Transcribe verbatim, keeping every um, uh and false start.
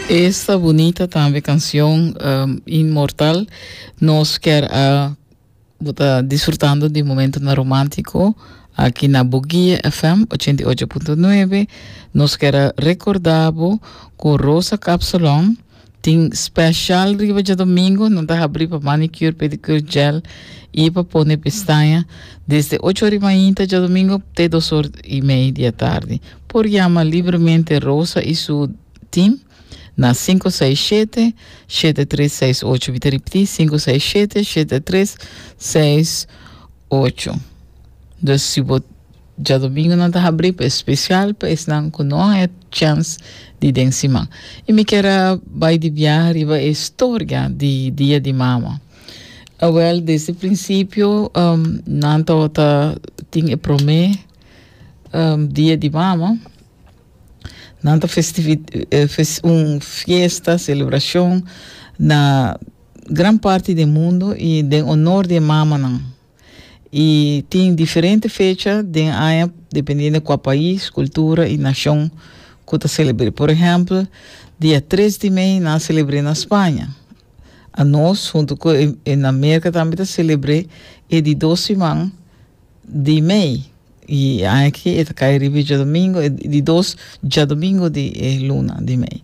Esta bunita tambe cancion um, Inmortal. Nos kier a ta disfrutando di momento na romantico aki na Bo Guia F M ochenta i ocho punto nuebe. Nos kier recorda bo cu Rosa Kapsalon tin special riba diadomingo, nan ta habri pa manicure, pedicure, gel y pa pone pestaña desde ocho or y mainta diadomingo te dos or y mei di atardi. Por yama libremente Rosa y su team na cinco seis siete, siete tres seis ocho. Mi ta ripiti, cinco seis siete, siete tres seis ocho. Dus si bo diadomingo nan ta habri pa special pa esnan cu no tin chance di den siman. Y mi kier bay di biaha riba e historia di Dia di Mama. Ah, well, desde principio um, nan ta tin e prome um, Dia di Mama. Nan ta festivi eh, un fiesta, celebracion na gran parti di mundo y den honor di mama nan. Y tin diferente fecha di aña dependiendo di cua pais, cultura y nacion cu ta celebra. Por ehempel, dia tres di mei nan ta celebra na Spaña. Anos, hunto cu na America tambe ta celebra e di dos siman di mei. Y aki ta cay diadomingo, di dos diadomingo di eh, luna di mei.